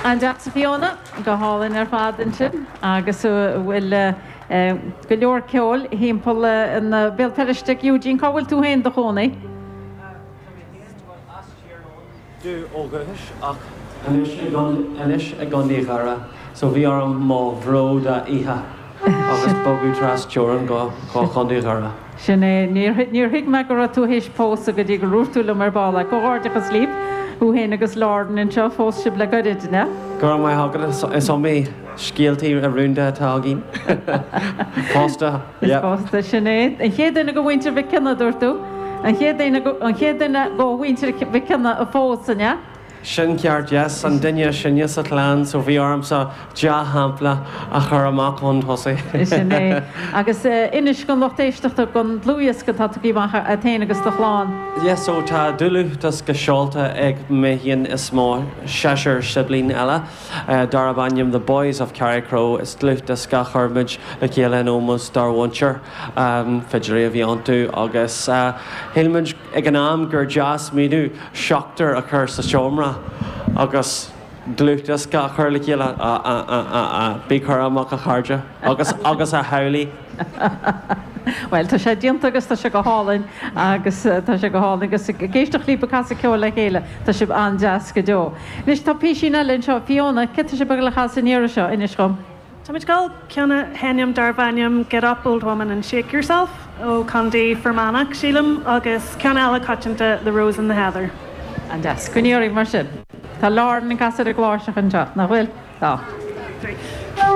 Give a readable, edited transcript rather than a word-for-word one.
An-deas a Fiona, go hálainn ar fad ansin agus bhfuil go leor ceoil thimpeall in Béal Feirste. Eugene, cá bhfuil tú féin i do chónaí? Tá mé féin, bhuel, as Tír Eoghain ó dhúchas ach anois i anois i gContae Dhoire so bhí orm mo bhród a ithe agus bogadh tras teorann go Contae Dhoire. Sin é. Níor níor thuig mé go raibh tú théis pósadh go dtí gur dhúirt tú liom ar ball. Comhghairdeachas libh, thú féin agus Lauren anseo. Phós sibh le goirid, an ea? Go raibh maith agat. Is iomaí scéaltaí rúnda atá againn. Pósta, yeah. Pósta, sin é. An chéad duine go mhuintir Mhic Cionnaith, dúirt tú? An chéad duine an chéad duine go mhuintir Mhic Cionnaith a phós, an ea? Sin ceart, yes, an duine is sine sa chlann, so bhí ormsa dea-shampla a chur amach chun tosaigh. Sin é. Agus inis don lucht éisteachta don dlúthdhiosca atá tugtha amach agat féin agus do chlann. Yes, so tá dlúthdhiosca seolta ag mé féin is mo sheisear sibling eile, darb ainm The Boys of Carrickroe. Is dlúthdhiosca a chuir muid le chéile in ómós dár mhuintir, fidléirí a bhí iontu, agus shíl muid ag an am gur dea-smaoineamh seachtar a chur sa seomra agus dlúthdhiosca a chur le chéile. Bí cúramach a chairde agus agus a theaghlaigh. Bhuel, tá sé déanta agus tá sé go hálainn agus tá sé go hálainn agus ag éisteacht libh ag casadh ceoil le chéile, tá sibh an-deas go deo. Anois tá písín eile anseo, Fiona, céard tá sibh ag dul a chasadh an iarraidh seo, inis dhom. Táimid ag dul ceann a sheinm darb ainm Get Up Old Woman and Shake Yourself ó Contae Fear Manach, sílim, agus ceann eile coitianta The Rose in the Heather. An-deas. Coinnigh oraibh mar sin. Tá Lauren ag casadh ar an gcláirseach anseo, nach bhfuil? Tá.